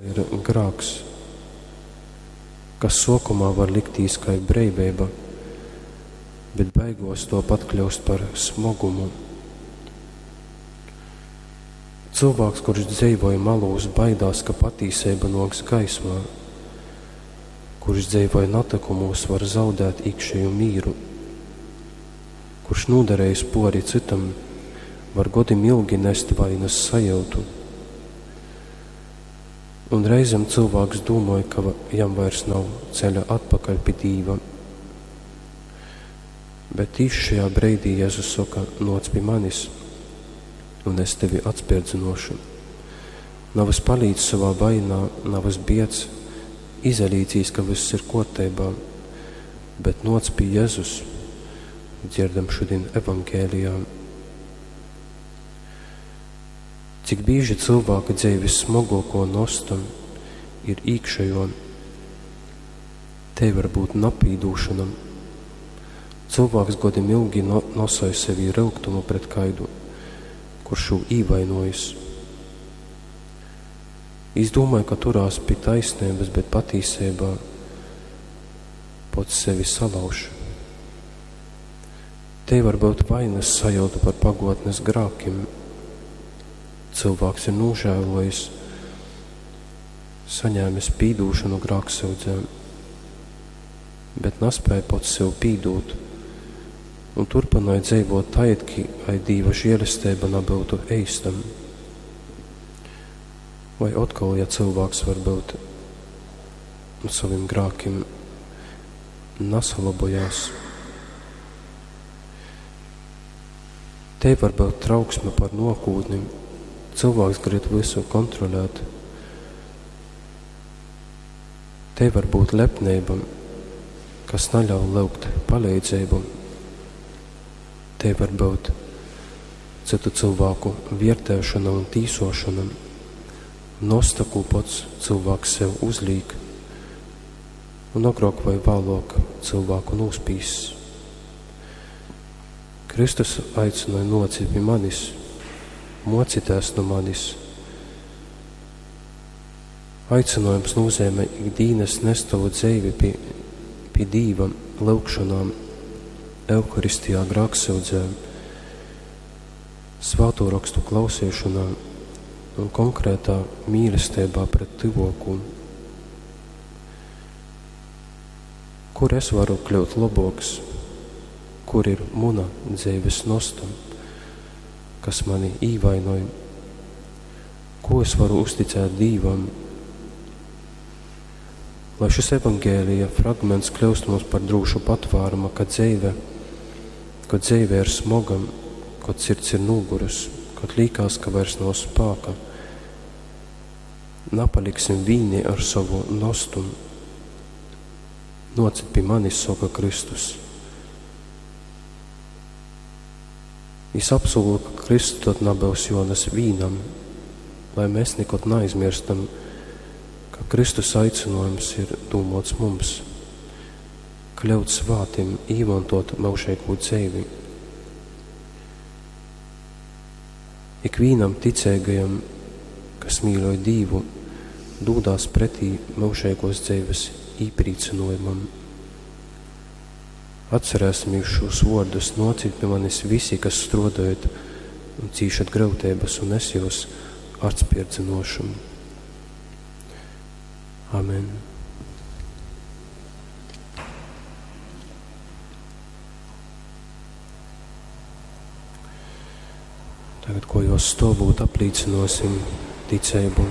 Ir grāks, kas suokumā var liktīs kai breiveiba, bet beiguos tuopat kļyust par smogumu. Cylvāks, kurš dzeivoj malūs, baidās, ka patīseiba nuoks gaismā. Kurš dzeivoj natykumūs, var zaudēt īkšeju mīru. Kurš nūdarejis puori cytam, var godim ilgi nest vainys sajiutu. Un reizem cylvāks dūmoj, ka jam vairs nav ceļa atpakaļ pi Dīva. Bet tīši šajā breidī Jezus soka: Nōc pi manis, un es tevi atspērdzynōšu. Navys palīc sovā vainā, navys biedz, izalīcīs, ka vyss ir kōrteibā, bet nōc pi Jezus, dzierdam šudin Evangelijā. Cik bīži cylvāka dzeivis smoguokuo nosta ir īkšejuo. Tei var byut napīdūšona. Cylvāks godim ilgi nosoj sevī ryugtumu pret kaidu, kurš jū īvainuojis. Jis dūmoj, ka turās pi taisneibys, bet patīseibā pots sevi salauž. Tei var byut vainys sajiuta par paguotnis grākim. Cylvāks ir nūžāluojis, saņēmis pīdūšonu grāksyudzē, bet naspēj pots sev pīdūt un turpynoj dzeivuot tai, it kai Dīva žielesteiba nabyutu eista. Vai otkol, ja cylvāks varbyut sovim grākim nasalobojās. Tei var byut trauksme par nuokūtni. Cylvāks gryb vysu kontrolēt. Tei var byut lepneiba, kas naļauj lyugt paleidzeibu. Tei var byut cytu cylvāku viertēšona un tīsuošona, nosta, kū pots cylvāks sev uzlīk, un agruok voi vāluok cylvāku nūspīss. Kristus aicynoj: Nuocit pi manis, muocitēs nu manis. Aicynuojums nūzeimej ik dīnys nest tovu dzeivi pi, pi Dīva lyugšonā, Euharistijā, grāksyudzē, Svātū Rokstu klauseišonā un konkrētā mīlesteibā pret tyvuokū. Kur es varu kļyut lobuoks? Kur ir muna dzeivis nosta, kas mani īvainoj? Kū es varu uzticēt Dīvam? Lai šis Evangelija fragments kļyust mums par drūšu patvārumu, kad dzeive, kod dzeive ir smoga, kod sirds ir nūgurus, kod līkās, ka vairs nav spāka. Napaliksim vīni ar sovu nostu. Nōcit pi manis, soka Kristus. Jis apsūla, ka krysts tod nabyus juonas vīnam, lai mes nikod naaizmierstam, ka Kristus aicynuojums ir dūmuots mums, kļyut svātim, īmontuot myužeigū dzeivi. Ikvīnam ticeigajam, kas mīļoj Dīvu, dūdās pretī myužeiguos dzeivis īprīcynuojumam. Atcerēsimīs šūs vuordus: Nōcit pi manis visi, kas struodojat un cīšat gryuteibys, un es jyus atspierdzynōšu. Amen. Tagad, kojos stovūt, aplīcynōsim ticeibu.